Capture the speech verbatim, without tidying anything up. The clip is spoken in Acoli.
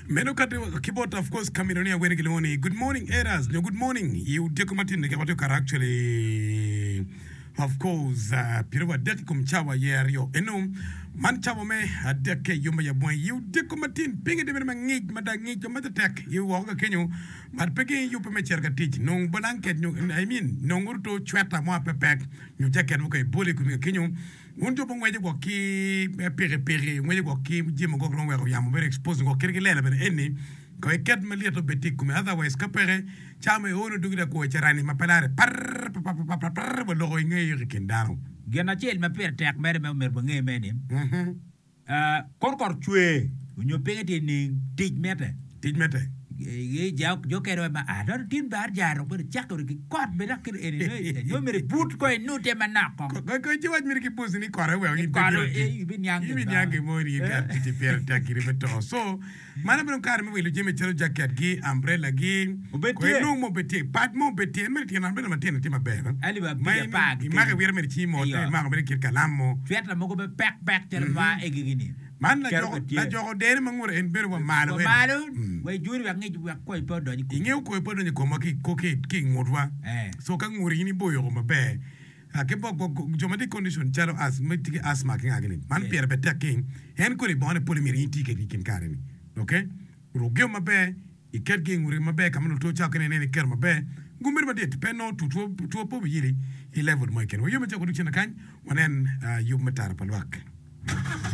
Meno kati ki bot of course kamino ni awene gilwongo ni good morning eras nyo good morning i odiko matin ni watye kare actually of course uh, pyeraryo adek i kom cawa aye aryo eno man cawa me adek ke yom ya bwang i odiko matin pinge tye bedo mangic mada ngic ma tek i woko ka kenyo but pe gi yubbe me cito ka tic nong blanket nyo I mean nong oruto cweta mo apepek nyo jacket mo ka ibolo i komi ka kenyo un jo bongweco gwok ki pikipiki ngweco gwok ki jami gwok romo weko yamo bedo expose gwok kit ki lela bene eni ko iket malyet obed tye i komi otherwise ka peke camo i ono dugi da kwo carani ma pe lare par pa pa pa par waloko i ngeyo i kin dano. Gin acel ma pire tek mere ma myero wange me ni kor kot cwer onyo pinye tye ning tic mite tic mite jo kene ma a tin bar jaro bedo cako ki kot bene dok kit eni nyo myero ibut ko inute manok ko ko ci wac myero ki pusi ni kote weko in pe bino tic ibiniang gin mo ni in kare ticci pire tek giri me to so mano bedo kare me wilo jami calo jacket gi umbrella gi Obed ko tye. inong mo obed tye pad mo obed tye en mere tyen umbrella matino tye maber Alip ma abic apar gi imako kenyo. iwiro mere i cingi mot Iyo. imako mere kit kalam mo Cweta mogo me pek pek calo ma egigi-ni. Man Keto lajoko bed tye. lajoko dere ma ngute en bedo wa malo Wa eni. malo wa ijuri wek ngic wek koyo pe odony i komi. Ingeyo koyo pe odonyo i komwa ki ko ki ki i ngutwa. Eh. So ka nguti in iboyo maber. Ah, ki bok bok jo ma tye i condition calo as ma tye ki asthma ki nga gini. Man Yes. pire pe tek ki en kodi bongone pole myero in iti kwede i kin kare ni. Okay? Ruk gio maber, iket gi i nguti maber ka ma nongo two cako kene ineno iketo maber. Gum bedo madit pe nongo two two two pe obiyeli i level mo keken. Wayome cako duk cen kany wanen ah, yub me tara pa lwak.